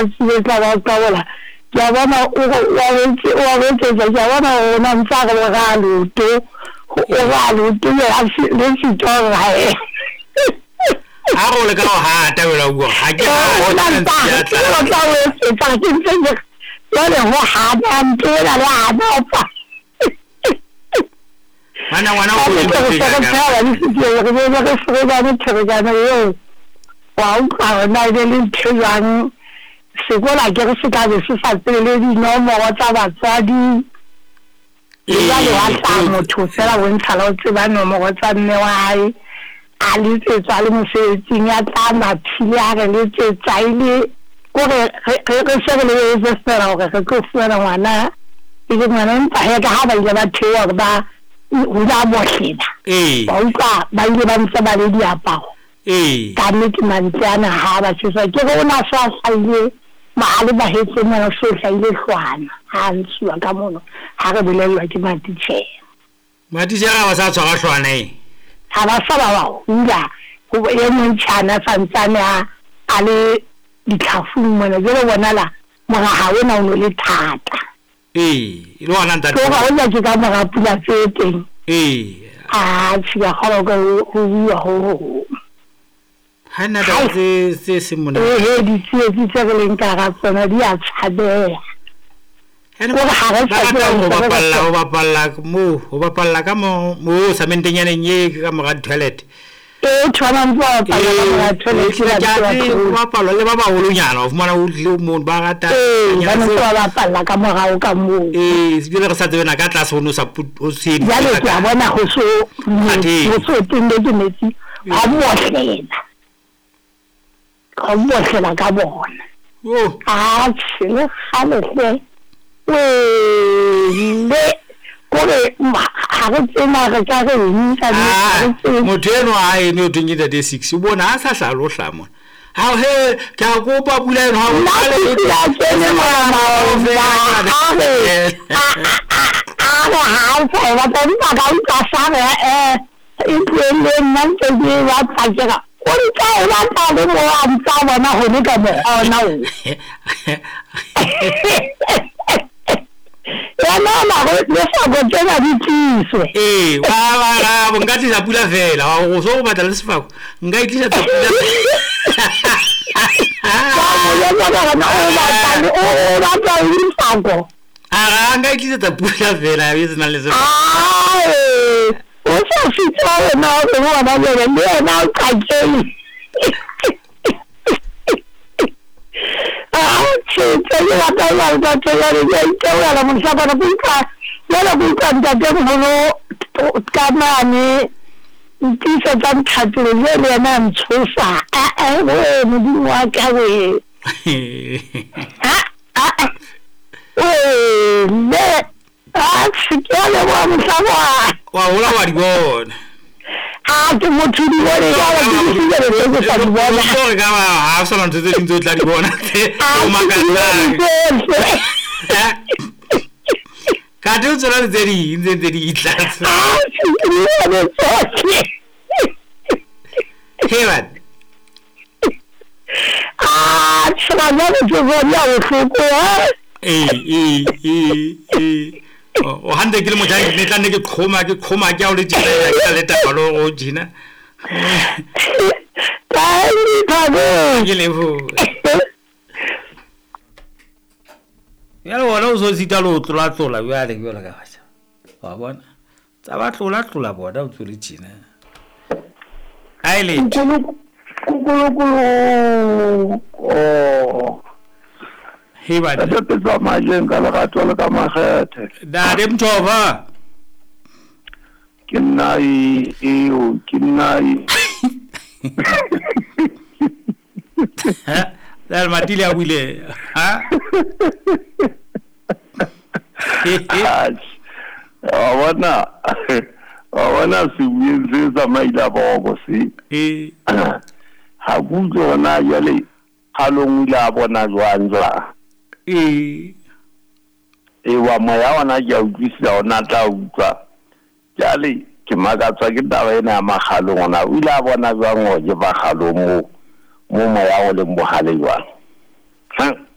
Tsie tla ba qabola. Ke a bona o go o a boetse o a boetsetsa ke a bona gore o na ntse a re o raa leoto o raa leoto le a se le sitwa gore ga e A re o leka go hata wena o bua ga ke o hate na ke ntse ntse a ke re a ke o tla. tla boetsetsa ke ntse ke re jwale ho hana ntho ena le hana opa. Ngwana ngwana o Ka kotsi nnete re motho se re jaaka. phela le setseng re be re ferekane pherekano eo wa utlwa hore na e be le ntho e jwang. Sekolo akere se tla be se sa tsebe le dinomoro tsa batswadi. Le jwale wa Ee, hlaha motho feela bontsha la o tseba nomoro tsa mme wa hae. A letsetswa a le mosebetsing ya tla mathile a re letsetsa e le kore re re se re lebeletse feela hore re tlo fumana ngwana e le ngwana empa hee ka ha ba ile ba theoha hore ba hula bohlela. Ee. Wa utlwa ba ile ba ntse ba le diaparo. Ee. Ka nnete mantswe ana ha a ba tjhesa ke re o na so a hlahile mahale mahetleng mona so hlahile hlwana ha a ntshuwa ka mono ha re bolellwa ke matitjhere. Matitjhere ha ba sa tshwara hlwana e. Ha ba sa ba ba hula ho e mong tjhana santsane a a le ditlhafung mona jwale bonala moraha ona o no le thata. Ee, e le hona ntate. Ke hore hoja ke ka mora pula tse teng. Ee. Atjhe ke a kgolwa ka ho bua ho hong. Ha nna taba tse tse seng monate. Ehe, ditsietsi tse re leng ka hara tsona di a tshabeha. Ene Kore ha re ba sa rata tseba ho ntse re bapalla batla ho bapalla moo ho bapalla ka mo mo samentenyaneng e ka mora toilet. E tshwanang ntse ba bapalla ka mora Ee, toilet ke ba ke ntse a ba tseba ho tlola. bapalwa le ba baholonyana o fumana o tlile mono ba rata Ee, ba nyana ne ntse tseo. ba bapalla ka morao ka moo. Ee, ebile re sa tsebe na ka tlase ho no sa ho se Jwale ke a bona ho so Athe. ho so tenne metsi hwa bohlela. Hwa bohlela ka bona. Yo. Atjhe le kgale hle. Wele kore ha re tsebe na re ka re eng ka nnete ha re Ah, tsebe. motho enwa ha eno ho thweng ke ntate six o bona ha sa hlaha le ho hlaha mona. Ha he ke a kopa pula eno ha o Nna qale ke pula kene mona maoba a re a re ha o sa e batla empa ka utlwa sa re eh e tlohelleng nna ntse ke e batla ke ra o ntsa e batla le mo a ntsa bona hone ka mokgwa ona oo. Yena ona re le sako tsena di tliswe. Ee, wa wa ra nka tlisa pula fela wa go so go batla le sefako nka e tlisetsa pula. Ka mo jwetsa ka re na o batla le o batla le sefako. A ra nka e tlisetsa pula fela e se nang le sefako. Ae, o sa sitwa wena hore hona jwale le yena o qakehile. Atjhe, tse ke rata jwale ntate jwale ke a itebohela mohlakwana ke utlwa jwale ke utlwa ntatemoholo ka mane ntiisetsa nthatile jwale yena a ntshosa. Ah-eh wee Modimo wa ka wee. Ah ah wee mme atjhe ke a leboha mohlakwana. Wa hola wa di bona. A ke motho di bone jwale ke di file tse ke sa di bona. Re ka ba ha o sana ntho tse ding tse o tla di bona tse A o ke di makatsang. bone tsohle. Kate o tsona le tse ding tse ntse di tla. Atjhe ke di bone tsohle. He man. Atjhe ga jwale ke bone ya bohloko eh. Ee, ee, ee, ee. O hantle ke le motjha ne tla nne ke qhoma ke qhoma ke ha o le tjena ke tla le taba le hore o tjena. Thank you, Thabo. Ke leboha. Jwale wena o so sita le ho tlola-tlola jwale jwalo ka batjha. Wa bona? Tsa ba tlola-tlola bona o ntso le tjena. Ha e letho. Kukulukulu. Oh. He banna. Re tsamayeng ka lerato le ka makgethe. Ntate Mthofa. Ke nna eo, ke nna e. Ha? Le matile a buile. Ha? Wa bona, wa bona sebueng se sa maila boko se. Ee. Ha ke utlwe hore na jwale qalong o ile a bona jwang jwang. Ee. Ee, wa moya ona ke a utlwisisa hore na tla utlwa. Jwale ke makatswa ke taba ena ya makgalong ona. O ile a bona jwang hore ke makgalong moo mo moya o leng bohale jwang.